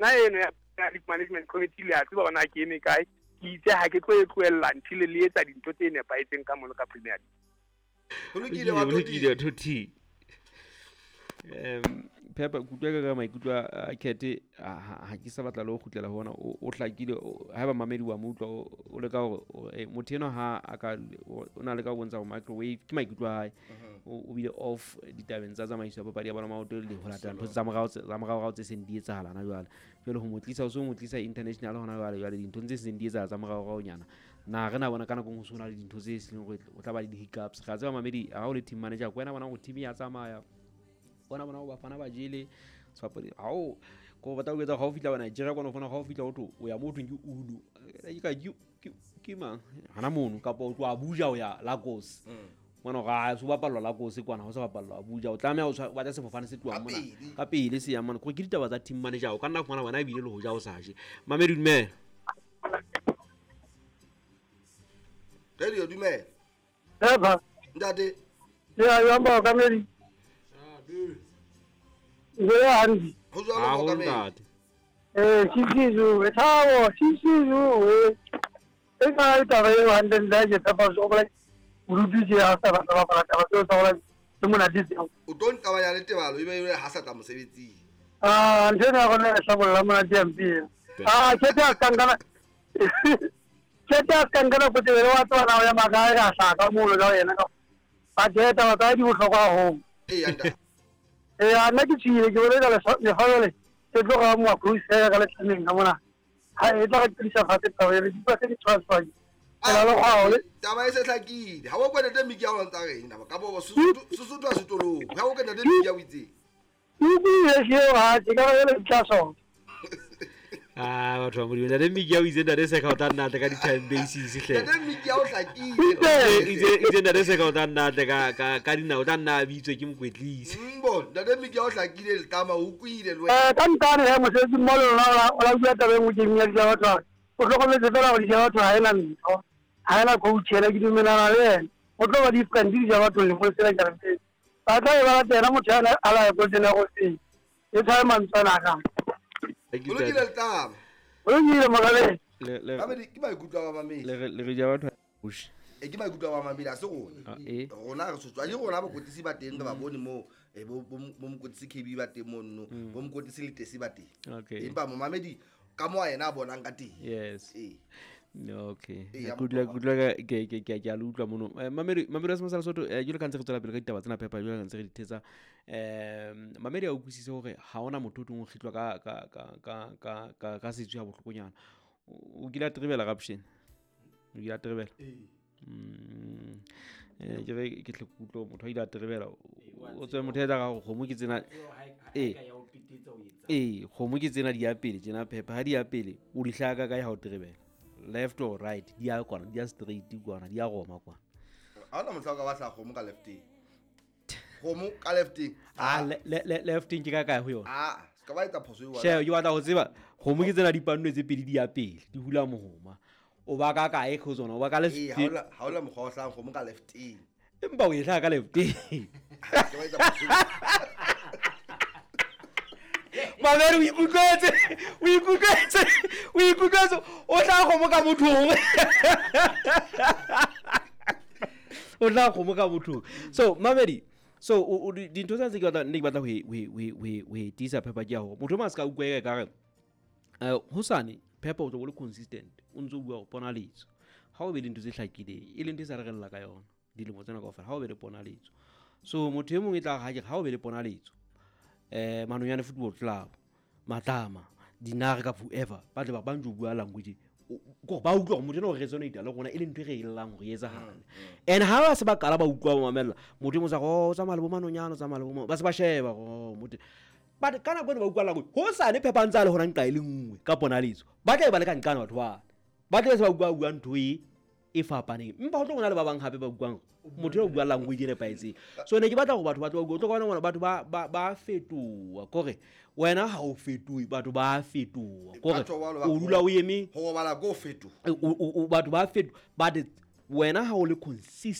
Nna eno ya League Management Committee le a tseba hore na ke eme kae. Ke itse ha ke tlo e tlohella until le etsa dintho tse nepahetseng ka mono ka Premier League. Ho lokile wa Toti. Phepa kutlwa ka maikutlo a Kete, ha ke sa batla le ho kgutlela ho ona, o hlakile. Haeba mamedi wa mo utlwa, o leka hore motho enwa ha a ka o na le ka ho bontsha hore microwave ke maikutlo a hae, o bile off ditabeng tsa tsamaiso ya papadi ya bolo maoto le ho latela ntho tsa morao tsa morao tse seng di etsahala na jwale. Jwale ho mo tlisa, o so mo tlisa international hona jwale, jwale dintho tse seng di etsahala tsa morao nyana. Na re na bona ka nako ho sona le dintho tse seng hore o tla ba le di-hiccups. Re a tseba mamedi, ha o le team manager ko wena bona hore team ya tsamaya, bona bona ho bafana ba jele sebapadi ha o ko batla ho etsa ha o fihla Nigeria kwana, o fana ha o fihla o tlo o ya mo thweng ke Ulu ke mang hana mono, kapa o tloha Abuja o ya Lagos mona ga so bapallwa Lagos kwana, ho sa bapallwa Abuja, o tlameha o batla sefofane se tlohang mona ka pele se yang mona. Ke ditaba tsa team manager, o ka nna fumana wena ebile le ho ja o sa je. Mamedi dumela. Radio dumela. Eba ntate. Ya ya ba ka medi. Ya hanzi. Ho jwalo ka medi. Sisizu, thabo, sisizu. E ka taba e hantle nda ke tapa so bla. Urutu je ha sa ba ba ba taba tseo tsa hore ke mona ditse. O tlo nqabanya le tebalo ebe e ha sa tla mosebetsing. Ah, ntho ena rona e hlabolla mona DMP. Ah, ke tla kankana. Ke tla kankana go tebele wa tswana o ya makae ka hlaka molo ka yena ka. Ba ke taba tsa di bohlokwa haholo. Ee ntate. Ee, nna ke tshile ke bone ka lefatshe le ke tloga mo cruise ka letlameng ka mona. Ha e tla re tlisa fatshe taba e re di tse di transfer. Taba e se hlakile. Ha o kwene tse miki ya ho ntsa reng naba ka bo Sesotho a setolong. Ha o kwene tse miki ya o itseng. Ke seo ha ke ka le tla so. Ah, batho ba Modimo, ntate Miki ya o itse ntate Seka o tla nna tle ka di-time basis hle. Ntate Miki ya o hlakile. Itse ntate Seka o tla nna tle ka dinao, o tla nna a bitswe ke mokwetlisi. Mbo, ntate Miki ya o hlakile letama o kwile le wena. Ka ntane he mosebetsi mmoho le lona o la bua taba e nngwe ke ya batho. O hlokometse fela hore di batho ha ena ntho. Ha ena coach ena ke dumelana le yena. O tlo ba different di batho le go sela ke re. Ba tla e ba latela motho ya a la go tsena go se. E tshwae mantswana ka. O lokile letama. O lokile mogale. Le ke maikutlo a ba mamedi. Le re ja batho push. E ke maikutlo a ba mamedi a se rona. Rona re sotswa ke rona bakwetlisi ba teng re ba bone mo bo mokwetlisi KB ba teng mono, bo mokwetlisi Letesi ba teng. Empa momamedi ka mo yena a bonang ka teng. Yes. Okay. Good luck ke a le utlwa mono. Mamedi wa Semosala Sotho, jwalo ka ntse re tswela pele ka ditaba tsena phepa, jwalo ka ntse re di thetsa. Mamedi a utlwisise hore ha hona motho o tlong ho kgitlwa ka setswe ha bohlokonyana. O kile a trebela raption. O kile a trebela. Ke re ke tle kutlwa motho a ile a trebela. O tswe motho a etsa ka kgomo ke tsena. Kgomo ke tsena di ya pele tjena phepa ha di ya pele o di hlaka kae ha o trebela. Left or right di ya kwana, di ya straight kwana, di ya roma kwana. Ha ona motho a ka batla kgomo ka lefteng. Kgomo ka lefteng. Ah, lefteng ke ka kae ho yona? Ah, se ka ba etsa phoso e wa. She, ke batla ho tseba kgomo ke tsena di pannwe tse pedi di ya pele, di hula mohoma. O ba ka kae go tsona? O ba ka left. Ha ola mokgwa o hlang kgomo ka lefteng. Empa o e hlaha ka lefteng. Ke ba etsa phoso. Mamedi o ikutlwetse, o tla kgomo ka mothong. O tla kgomo ka mothong. So mamedi, so dintho tsa tse ke batla ne ke batla ho e tiisa phepa ke ya hore motho ma se ka utlwa e ka re hosane phepa o tlo bo le consistent, o ntso bua ho ponaletso. Ha o be le ntho tse hlakileng, e leng ntho e sa re rella ka yona dilemo tsena kaofela, ha o be le ponaletso. So motho e mong e tla ha ke ha o be le ponaletso. Manonyane Football Club, Matlama, Dinare ka whoever, ba tle ba bantjo bua language. Ko ba utlwa hore motho ena o resonate le rona e leng ntho e re e llang hore e etsahale. And ha ba se ba qala ba utlwa ba mamella, motho e mong sa go tsamaya le bo Manonyane, tsamaya le bo ba se ba sheba go motho. But ka nako eno ba utlwa language, ho sane phepa ntse a le hona nqa e le nngwe ka ponaletso. Ba tla e ba le ka nqana batho ba. Ba tla se ba utlwa bua ntho e fapaneng. Empa ho tlo bona le ba bang hape ba utlwang motho eo bua language e nepahetseng. So ne ke batla hore batho ba tlo utlwa bona batho ba fetoha kore wena ha o fetohe, batho ba fetoha kore o dula o eme ho robala go fetoha. Batho ba fetoha, but wena ha o le consistent.